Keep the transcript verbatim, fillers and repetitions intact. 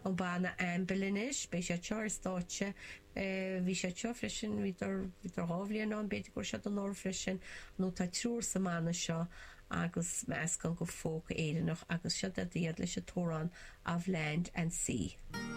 An banna Anvil anois, beidh siad seo ar stáitse, bhí siad seo freisin, bhíodar, bhíodar dhá bhliain ann, b'fhéidir go raibh siad anuraidh freisin, nó tá triúr sa mbanna seo agus meascán de folk Éireannach agus seo iad leis an t-amhrán Of Land and Sea.